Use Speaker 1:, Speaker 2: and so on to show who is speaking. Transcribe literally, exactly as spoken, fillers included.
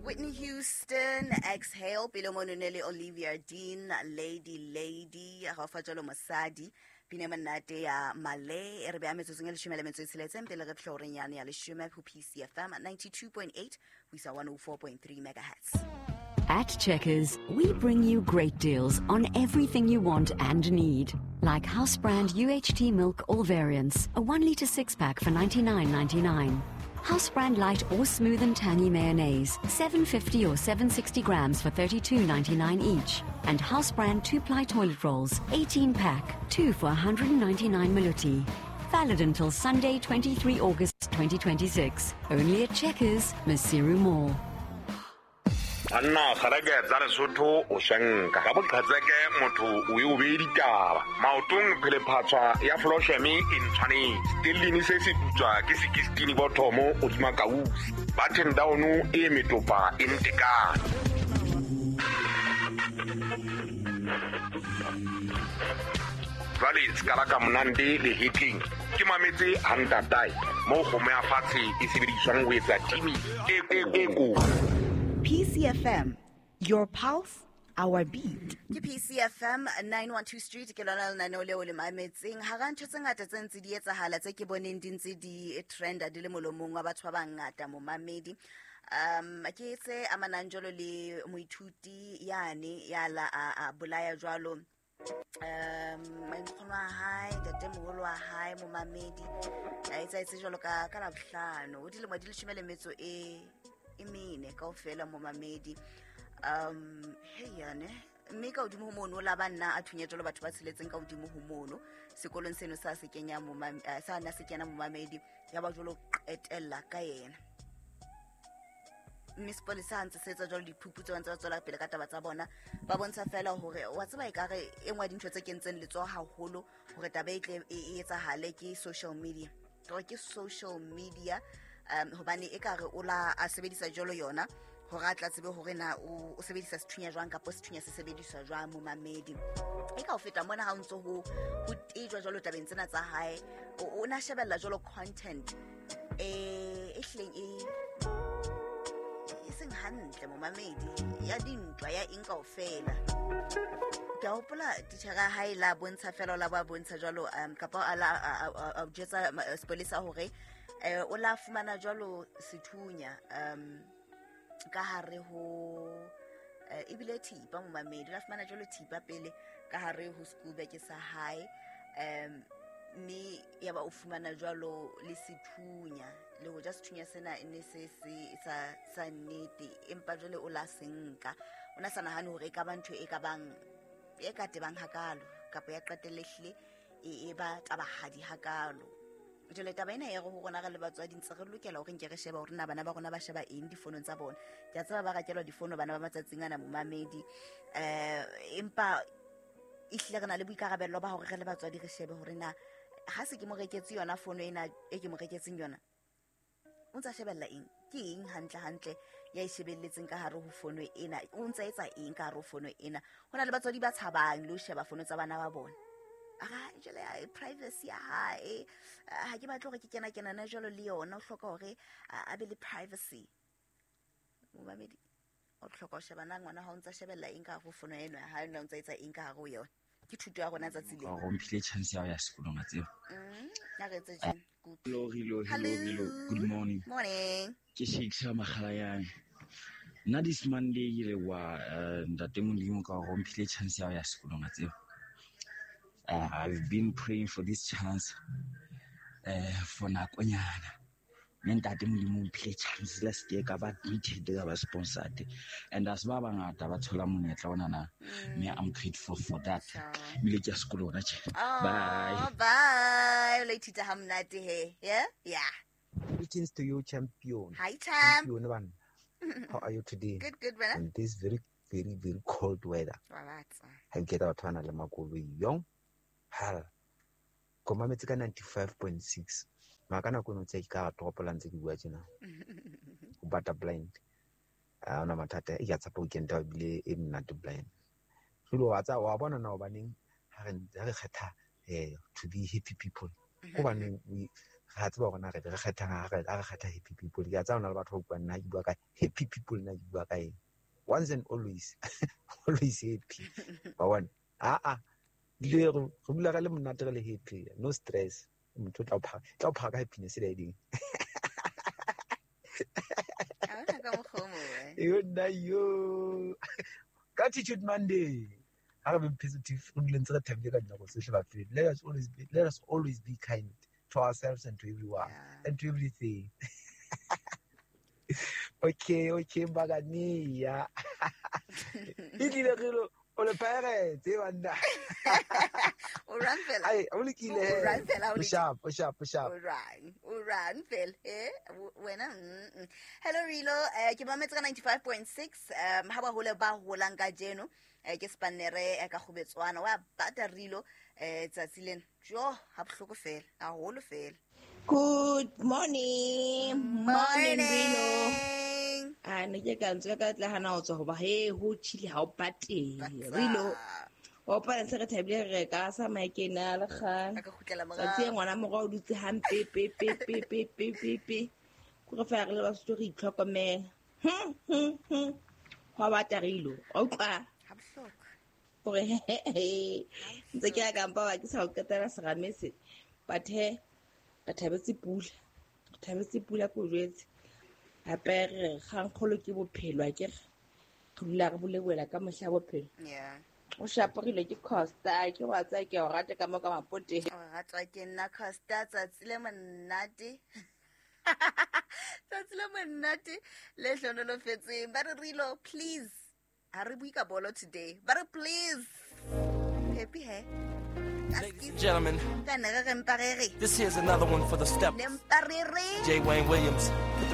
Speaker 1: Whitney Houston, Exhale, pele mono ne le Olivia Dean, Lady Lady, ga fa jalo mosadi, pina monate ya Male, e re beha metsotsong e leshome le metso e tsheletseng pele re fihla horeng yane ya leshome ho P C F M ninety-two point eight ho isa one oh four point three megahertz.
Speaker 2: At Checkers, we bring you great deals on everything you want and need. Like house brand U H T milk, all variants, a one litre six-pack for ninety-nine ninety-nine. House brand light or smooth and tangy mayonnaise, seven fifty or seven sixty grams for thirty-two ninety-nine each. And house brand two-ply toilet rolls, eighteen pack, two for a hundred ninety-nine maluti. Valid until Sunday, twenty-three August twenty twenty-six. Only at Checkers, Maseru Mall.
Speaker 3: Anna kgareke tsa Lesotho o shanka ka boqhatseke motho o e o be ditaba maotong phele phatswa ya Flosheme e ntshwanetse tellini se se putswa ke sixteen bothomo o dima kausi button down e metopa e ntekane jwale skala ka monande le hitting ke mametse hantatai mo kgomo ya fatshe e sebediswang ho etsa timi e e ko
Speaker 1: P C F M, your pulse, our beat. Ke P C F M nine one two Street ke lona lenaneo leo le mametseng. Hara ntho tse ngata tse ntse di etsahala tse ke boneng di ntse di trenda di le molomong wa batho ba bangata momamedi. Um ke tse amanang jalo le moithuti yane ya la a bolaya jwalo um mankgono wa hae ntatemoholo wa hae momamedi a etsa etse jwalo ka ka Labohlano o dilemo di leshome le metso e e mene kaofela momamedi. Um hey yane mme ka hodimo ho mono la banna a thunya jalo batho ba tsheletseng ka hodimo ho mono sekolong seno sa se kenya momamedi sa na se kena momamedi ya ba jalo qetella ka yena mme sepolesa ntse se etsa jalo diphuputso ba ntse ba tswela pele ka taba tsa bona ba bontsha fela hore wa tseba e ka re e nngwe ya dintho tse kentseng letsoho haholo hore taba e tle e etsahale ke social media ke social media um hobane e ka re o la a sebedisa jalo yona hore a tla tsebe hore na o sebedisa sethunya jwang kapa sethunya se sebediswa jwang momamedi e ka ho feta mona ha o ntso ho ho tejwa jalo tabeng tsena tsa hae o na shebella jalo content e e hleng e e seng hantle momamedi ya dintwa ya eng kaofela ke hopola titjhere ha e la bontsha fela la ba bontsha jalo um kapa a la a jetsa sepolesa hore eh o la fumana jalo sethunya um ka hare ho ebile thipa momamedi la fumana jalo thipa pele ka hare ho school bag sa hae um mme ya ba o fumana jalo le sethunya le ho ja sethunya sena e ne se se sa sa nnete empa jwale o la senka o na sa nahane hore e ka ba ntho e ka bang e ka tebang hakalo kapa ya qetellehle e e ba tabahadi hakalo jwale taba ena e re ho rona re le batswadi ntse re lokela hore nke re sheba hore na bana ba rona ba sheba eng difonong tsa bona ke a tseba ba rakelwa difono bana ba matsatsing ana momamedi eh empa ehlile re na le boikarabello ba hore re le batswadi re shebe hore na ha se ke mo reketse yona fono ena e ke mo reketseng yona o ntsa shebella eng ke eng hantle hantle ya e shebelletseng ka hare ho fono ena o ntsa etsa eng ka hare ho fono ena hona le batswadi ba tshabang le ho sheba fono tsa bana ba bona ara jwale ya privacy ya hae ha ke batle hore ke kena kena na jwalo le yona o hloka hore a be le privacy momamedi o hloka ho sheba na ngwana ha o ntsa shebella eng ka hare ho fono eno ha o ntsa etsa eng ka hare ho yona ke thuto ya rona tsatsi le
Speaker 4: o mphile chance ya ho ya sekolong a tseba
Speaker 1: mm na re tse jeng good
Speaker 4: hello hello hello good morning
Speaker 1: morning
Speaker 4: ke Shakes Makgalayane nna this Monday ke le wa ntate Modimo ka o mphile chance ya ho ya sekolong a tseba. Uh, I've been praying for this chance uh, for nakonyana mme ntate Modimo o mphile chance la se ka ba admitted ka ba sponsored and as ba bangata ba thola monyetla ona na mme I'm grateful for that ebile ke ya sekolo hona tje. Bye
Speaker 1: bye le ithuta ha monate he yeah yeah
Speaker 5: Greetings to you, champion.
Speaker 1: Hi, champ.
Speaker 5: Champion one. How are you today?
Speaker 1: Good, good, brother.
Speaker 5: In this very, very, very cold weather. Ha ke tla batho ba nang le makoloi yong. Hal. Ko mametse ka ninety-five point six. Maka nako eno tse ke ka toropo la ntse ke bua tjena. O bata blind. Ha ona mathata e ke tshepa weekend ya bile e monate blind. Jwale wa tsa wa bona na hobaneng ha re ha re kgetha eh to be happy people. Hobaneng we Re tseba hore na re re kgethang ha re ha re kgetha happy people. Ke a tseba hona le batho ba buang nna ke bua ka happy people, nna ke bua ka eng. Once and always, always happy. Wa bona? Ah ah. Dilo e re re dula re le monate re le happy. No stress. Motho o tla o phaka, tla o phaka ka happiness le ding.
Speaker 1: Ha hona ka mokgwa o mong, eh.
Speaker 5: Yo nna yo. Gratitude Monday. Ha re be positive, re dule ntse re thabile ka dinako tsohle bafethu. Let us always be, let us always be kind to ourselves and to everyone
Speaker 1: Yeah.
Speaker 5: and to everything. Okay, okay, Bagania. E tlile re lo o le Pirates, eh banna.
Speaker 1: O rang fela.
Speaker 5: Ai, o lokile
Speaker 1: O
Speaker 5: he.
Speaker 1: rang fela, o
Speaker 5: O
Speaker 1: lokile.
Speaker 5: sharp, o sharp, o sharp.
Speaker 1: O rang, o rang fela, eh? W- Wena, mm, mm. Hello Rilo, eh, ke mametse ka ninety-five point six, um, ha ba hole ba holang kajeno, eh, ke spannere, eh, ka Kgobetswana. Wa bata Rilo, eh, tsatsi lena. Jo, ha bohloko fela, haholo fela.
Speaker 6: Good morning. Morning, Rilo.
Speaker 1: Morning.
Speaker 6: A ne ke ka ntswe ka tla hana ho tswa hoba he ho tjhile ha o bate.
Speaker 1: Batsa.
Speaker 6: Rilo, wa opana ntse re thabile re ka sa maekena le kgale.
Speaker 1: A ka kgutlela
Speaker 6: Tsatsi e
Speaker 1: morao.
Speaker 6: ngwana morao o dutse hampe pe pe pe pe pe pe pe. Ke re feela re le Basotho re itlhokomela. Hm hm hm. Hwa bata Rilo. Wa utlwa?
Speaker 1: Ha bohloko.
Speaker 6: Hore he he he. Ntse ke ya kampa wa ke sa o qetela serame se. But he, re thabetse pula. Re thabetse pula ke o jwetse. Hape re kgangkgolo ke bophelo akere. Re dula re bolebola ka mohla bophelo.
Speaker 1: Yeah.
Speaker 6: O shaporile ke Costa, ke wa tsaya ke o rata ka mo ka mapote.
Speaker 1: O ratwa ke nna Costa, tsatsi le monate. Tsatsi le monate le hlonolofetseng. Ba re Rilo, please. Ha re bue ka bolo today. Ba re please. Happy he.
Speaker 7: Ladies and gentlemen,
Speaker 1: Ka ne re re mpa re re.
Speaker 7: this here's another one for the steppers.
Speaker 1: Ne mpa re re.
Speaker 7: J. Wayne Williams, put